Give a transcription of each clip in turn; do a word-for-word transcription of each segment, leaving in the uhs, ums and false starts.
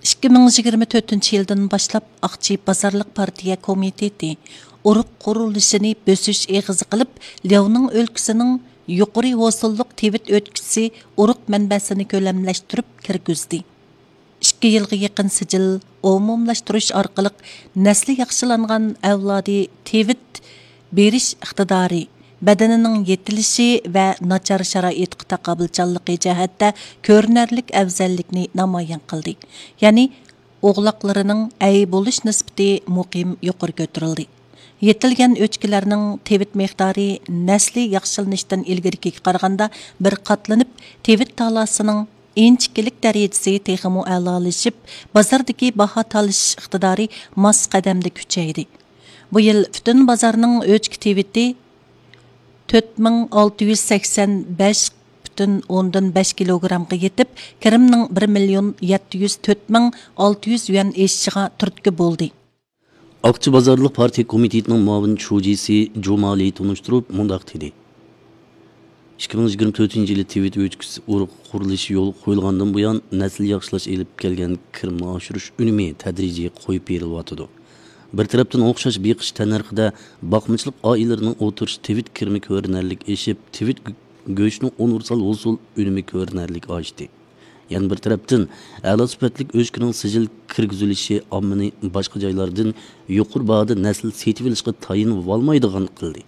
ئىككى مىڭ يىگىرمە تۆتىنچى يىلدىن باشلاپ، ئاقچى بازارلىق پارتىيە كومىتېتى ئۇرۇق قۇرۇلۇشىنى بۆسۈش ئېغىزى قىلىپ، لياۋنىڭ ئۆلكىسىنىڭ يۇقىرى ھوسۇللۇق تىۋىت ئۆچكىسى ئۇرۇق مەنبەسىنى كۆلەملەشتۈرۈپ كىرگۈزدى. ئىككى يىلغا يېقىن سىجىل ئومۇملاشتۇرۇش ئارقىلىق نەسلى ياخشىلانغان ئەۋلادى تىۋىت بېرىش ئىقتىدارى، بەدىنىنىڭ يېتىلىشى ۋە ناچار شارائىتقا تاقابىلچانلىقى جەھەتتە كۆرۈنەرلىك ئەۋزەللىكنى نامايان قىلدى. يەنى ئوغلاقلىرىنىڭ ئەي بولۇش نىسبىتى مۇقىم يۇقىرى كۆتۈرۈلدى. يېتىلگەن ئۆچكىلەرنىڭ تىۋىت مىقدارى نەسلى ياخشىلىنىشتىن ئىلگىرىكىگە قارىغاندا بىر قاتلىنىپ، تىۋىت تالاسىنىڭ ئىنچىكىلىك دەرىجىسى تېخىمۇ ئەلالىشىپ، بازاردىكى باھا تالىشىش ئىقتىدارى ماس قەدەمدە كۈچەيدى. بۇ يىل پۈتۈن بازارنىڭ ئۆچكە تىۋىتى تۆت مىڭ ئالتە يۈز سەكسەن بەش پۈتۈن ئوندىن بەش كىلوگرامغا يېتىپ، كىرىمنىڭ بىر مىليون يەتتە يۈز تۆت مىڭ ئالتە يۈز يۈەن ئېشىشىغا تۈرتكە بولدى. ئاقچى بازارلىق پارتىيە كومىتېتىنىڭ مۇئاۋىن شۇجىسى جۇمالى تونۇشتۇرۇپ مۇنداق دېدى: ئىككى مىڭ يىگىرمە تۆتىنچى يىلى تىۋىت ئۆچكىسى ئۇرۇق قۇرۇلۇشى يولغا قويۇلغاندىن بۇيان، نەسىل ياخشىلاش ئېلىپ كەلگەن كىرىمنى ئاشۇرۇش ئۈنۈمى تەدرىجىي قويۇپ بېرىلىۋاتىدۇ. بىر تەرەپتىن ئوخشاش بېقىش تەننەرخىدە باقمىچىلىق ئائىلىلىرىنىڭ ئوتتۇرىچە تىۋىت كىرىمى كۆرۈنەرلىك ئېشىپ، تىۋىت گۆ-، گۆشىنىڭ ئۇنىۋېرسال ھوسۇل ئۈنۈمى كۆرۈنەرلىك ئاشتى. يەنە بىر تەرەپتىن، ئەلا سۈپەتلىك ئۆچكىنىڭ سىجىل كىرگۈزۈلۈشى ئاممىنى باشقا جايلاردىن يۇقىرى باھادا نەسىل سېتىۋېلىشقا تايىنىۋالمايدىغان قىلدى.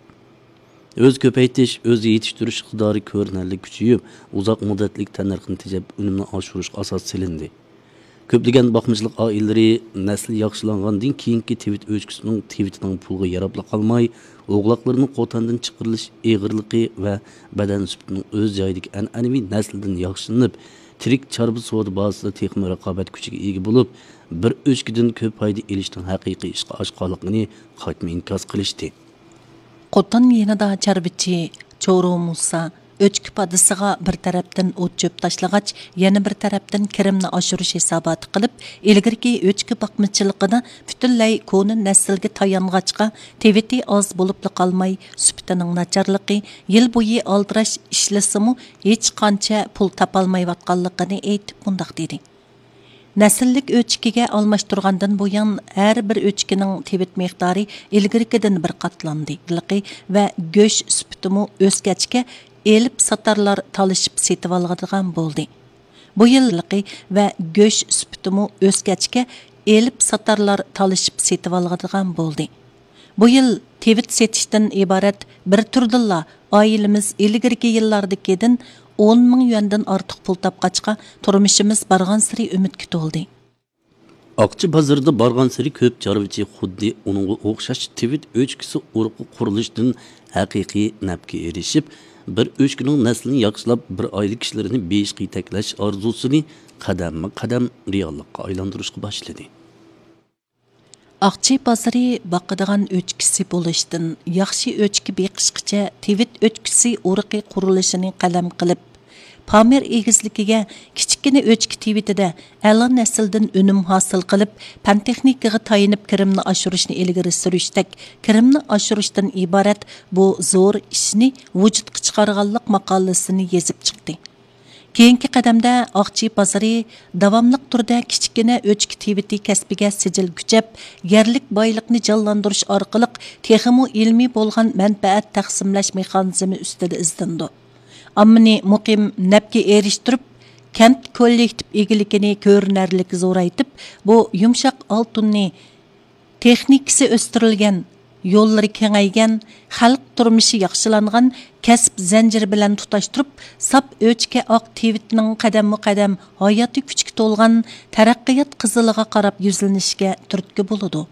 ئۆز كۆپەيتىش، ئۆز يېتىشتۈرۈش ئىقتىدارى كۆرۈنەرلىك كۈچىيىپ، ئۇزاق مۇددەتلىك تەننەرخنى تېجەپ، ئۈنۈمنى ئاشۇرۇشقا ئاساس سېلىندى. كۆپلىگەن باقمىچىلىق ئائىلىلىرى نەسلى ياخشىلانغاندىن كېيىنكى تىۋىت ئۆچكىسىنىڭ تىۋىتىنىڭ پۇلغا ياراپلا قالماي، ئوغلاقلىرىنىڭ قوتاندىن چىقىرىلىش ئېغىرلىقى ۋە بەدەن سۈپىتىنىڭ ئۆز جايىدىكى ئەنئەنىۋى نەسلىدىن ياخشىلىنىپ، تىرىك چارۋا سودا بازىسىدا تېخىمۇ رىقابەت كۈچىگە ئىگە بولۇپ، بىر ئۆچكىدىن كۆپ پايدا ئېلىشنىڭ ھەقىقىي ئىشقا ئاشقانلىقىنى قايتما ئىنكاس قىلىشتى. قوتان يېنىدا چارۋىچى چورۇ مۇسا ئۆچكە پادىسىغا بىر تەرەپتىن ئوت-چۆپ تاشلىغاچ، يەنە بىر تەرەپتىن كىرىمنى ئاشۇرۇش ھېساباتى قىلىپ، ئىلگىرىكى ئۆچكە باقمىچىلىقىدا پۈتۈنلەي كونا نەسىلگە تايانغاچقا، تىۋىتى ئاز بولۇپلا قالماي، سۈپىتىنىڭ ناچارلىقى، يىل بويى ئالدىراش ئىشلىسىمۇ، ھېچقانچە پۇل تاپالمايۋاتقانلىقىنى ئېيتىپ، مۇنداق دېدى: نەسىللىك ئۆچكىگە ئالماشتۇرغاندىن بۇيان، ھەر بىر ئۆچكىنىڭ تىۋىت مىقدارى ئىلگىرىكىدىن بىر قاتلاندى ۋە گۆش سۈپىتىمۇ ئۆسكەچكە، ئېلىپ ساتارلار تالىشىپ سېتىۋالىدىغان بولدى. بۇ يىل ۋە گۆش سۈپىتىمۇ ئۆسكەچكە، ئېلىپ ساتارلار تالىشىپ سېتىۋالىدىغان بولدى. بۇ يىل تىۋىت سېتىشتىن ئىبارەت بىر تۈردىنلا ئائىلىمىز ئىلگىرىكى يىللاردىكىدىن ئون مىڭ يۈەندىن ئارتۇق پۇل تاپقاچقا، تۇرمۇشىمىز بارغانسېرى ئۈمىدكە تولدى. ئاقچى بازىرىدا بارغانسېرى كۆپ چارۋىچى خۇددى ئۇنىڭغا ئوخشاش تىۋىت ئۆچكىسى ئۇرۇقى قۇرۇلۇشىدىن ھەقىقىي نەپكە ئېرىشىپ، بىر ئۆچكىنىڭ نەسلىنى ياخشىلاپ، بىر ئائىلە كىشىلىرىنى بېيىشقا يېتەكلەش ئارزۇسىنى قەدەممۇ قەدەم رېئاللىققا ئايلاندۇرۇشقا باشلىدى. ئاقچى بازىرى باقىدىغان ئۆچكىسى بولۇشتىن ياخشى ئۆچكە بېقىشقىچە تىۋىت ئۆچكىسى ئۇرۇقى قۇرۇلۇشىنى قەدەم قىلىپ، پامىر ئېگىزلىكىگە كىچىككىنە ئۆچكە تىۋىتىدە ئەلا نەسىلدىن ئۈنۈم ھاسىل قىلىپ، پەن تېخنىكىغا تايىنىپ كىرىمنى ئاشۇرۇشنى ئىلگىرى سۈرۈشتەك، كىرىمنى ئاشۇرۇشتىن ئىبارەت بۇ زور ئىشنى ۋۇجۇدقا چىقارغانلىق ماقالىسىنى يېزىپ چىقتى. كېيىنكى قەدەمدە ئاقچى بازىرى داۋاملىق تۈردە كىچىككىنە ئۆچكە تىۋىتى كەسپىگە سىجىل كۈچەپ، يەرلىك بايلىقنى جانلاندۇرۇش ئارقىلىق تېخىمۇ ئىلمىي بولغان مەنپەئەت تەقسىملەش مېخانىزمى ئۈستىدە ئىزدىنىدۇ. ئاممىنى مۇقىم نەپكە ئېرىشتۈرۈپ، كەنت كوللېكتىپ ئىگىلىكىنى كۆرۈنەرلىك زورايتىپ، بۇ يۇمشاق ئالتۇننى تېخنىكىسى ئۆستۈرۈلگەن، يوللىرى كېڭەيگەن، خەلق تۇرمۇشى ياخشىلانغان كەسىپ زەنجىرى بىلەن تۇتاشتۇرۇپ، ساپ ئۆچكە ئاق تىۋىتنىڭ قەدەممۇ قەدەم ھاياتىي كۈچكە تولغان تەرەققىيات قىزىلىغا قاراپ يۈزلىنىشىگە تۈرتكە بولىدۇ.